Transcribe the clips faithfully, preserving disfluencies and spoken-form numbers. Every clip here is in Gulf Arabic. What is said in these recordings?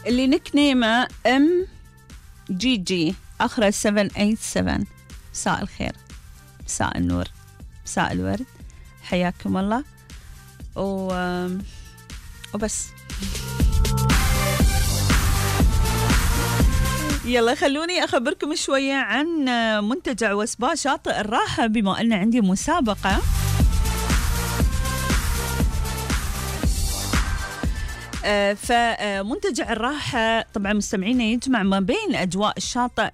اللي نكنيمه ام جي جي آخره سبعة ثمانية سبعة. مساء الخير، مساء النور، مساء الورد، حياكم الله. و... وبس. يلا خلوني أخبركم شوية عن منتجع وسبا شاطئ الراحة، بما أن عندي مسابقة. فمنتجع الراحة طبعا مستمعينا يجمع ما بين أجواء الشاطئ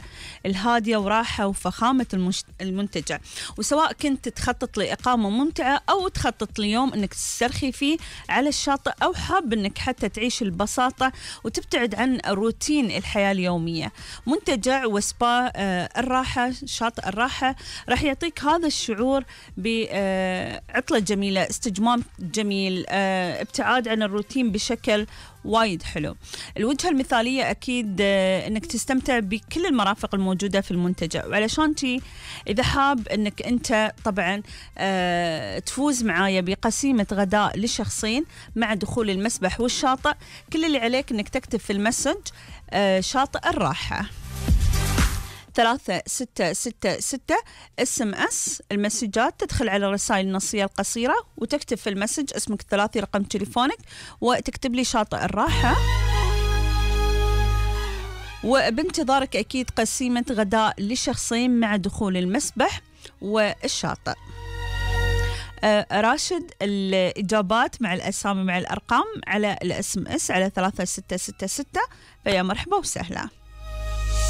الهادية وراحة وفخامة المنتجع، وسواء كنت تخطط لإقامة ممتعة أو تخطط ليوم أنك تسترخي فيه على الشاطئ، أو حاب أنك حتى تعيش البساطة وتبتعد عن روتين الحياة اليومية، منتجع وسبا الراحة شاطئ الراحة راح يعطيك هذا الشعور بعطلة جميلة، استجمام جميل، ابتعاد عن الروتين بشكل وايد حلو. الوجهة المثالية أكيد أنك تستمتع بكل المرافق الموجودة في المنتجع، وعلشان تي إذا حاب أنك أنت طبعا تفوز معايا بقسيمة غداء لشخصين مع دخول المسبح والشاطئ، كل اللي عليك أنك تكتب في المسج شاطئ الراحة ثلاثة ستة ستة ستة اس ام اس المسجات، تدخل على الرسائل النصية القصيرة وتكتب في المسج اسمك الثلاثي، رقم تليفونك، وتكتب لي شاطئ الراحة، وبانتظارك أكيد قسيمة غداء لشخصين مع دخول المسبح والشاطئ. آه راشد الإجابات مع الأسامي مع الأرقام على الاس ام اس على ثلاثة ستة ستة ستة، فيا مرحبا وسهلا.